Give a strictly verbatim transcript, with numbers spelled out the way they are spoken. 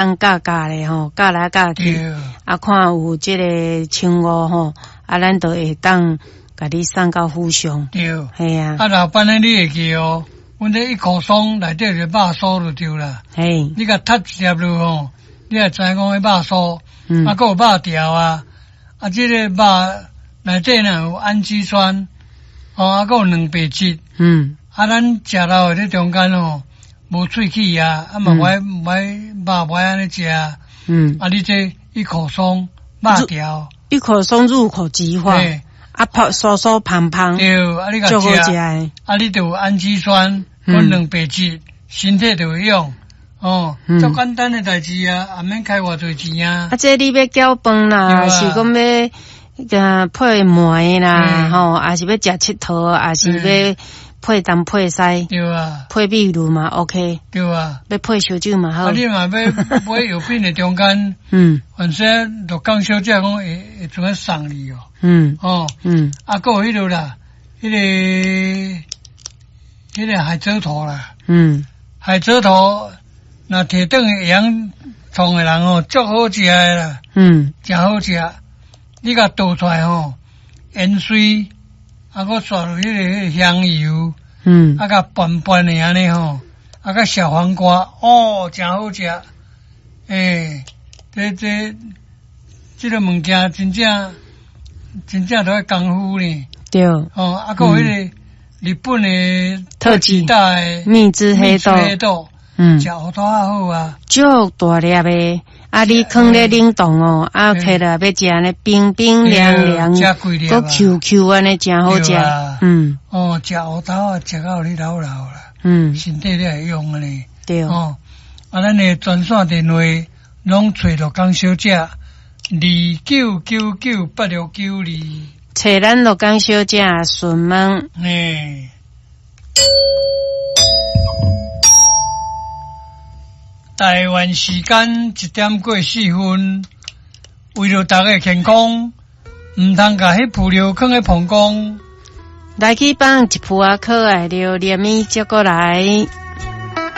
當教教咧吼，教來教去，啊，看有這个稱呼吼，啊，咱就會當共你送到府上。對，嘿啊。啊，老闆呢，你會記哦？阮這一口鬆內底就肉酥就對啦。嘿，你共踢一粒落吼，你也知影講彼肉酥，嗯，啊，閣有肉條啊，啊，這个肉內底呢有氨基酸，哦，啊，閣有蛋白質，嗯，啊，咱食落去這中間吼，無喙齒啊，啊嘛無愛無愛肉無愛按呢食，嗯，啊，你這一口鬆肉條，一口鬆入口即化，啊，泡酥酥胖胖，對，啊，你共食，啊，你就有氨基酸，閣蛋白質，身體就會用，哦，足簡單的代誌啊，也免開偌濟錢啊。啊，這你欲攪飯啦，是講欲呃配糜啦，吼，抑是欲食𨑨迌，抑是欲配東配西，對啊，配米露嘛，OK，對啊，欲配燒酒嘛好。啊，你嘛欲買藥品的中間，嗯，反正鹿港小姐講會會怎樣送你哦，嗯，哦，嗯，啊，閣有彼個啦，彼個彼個海蜇頭啦，嗯，海蜇頭，若提轉會曉創的人哦，足好食的啦，嗯，誠好食，你共倒出來吼，芫荽。啊，閣刷落彼个彼个香油，嗯，啊，共拌拌的按呢吼，啊，佮小黃瓜，哦，誠好食。欸，這這這个物件真正真正都愛功夫呢。對。哦，啊，閣有彼個日本的特級的蜜汁黑豆，黑豆，嗯，食芋頭仔好啊。足大粒的。啊！你囥咧冷凍哦，啊，摕來欲食呢，冰冰涼涼，閣 Q Q 按呢，誠好食。嗯。哦，食芋頭啊，食到你老老啦。嗯。身體才會用按呢。對。哦，啊，咱的專線電話攏揣鹿港小姐，二九九九八六九二。揣咱鹿港小姐詢問。嘿。台灣時間一點過四分，為著大家健康，毋通共彼浮料囥咧膀胱。來去放一浮仔可愛著連米接過來。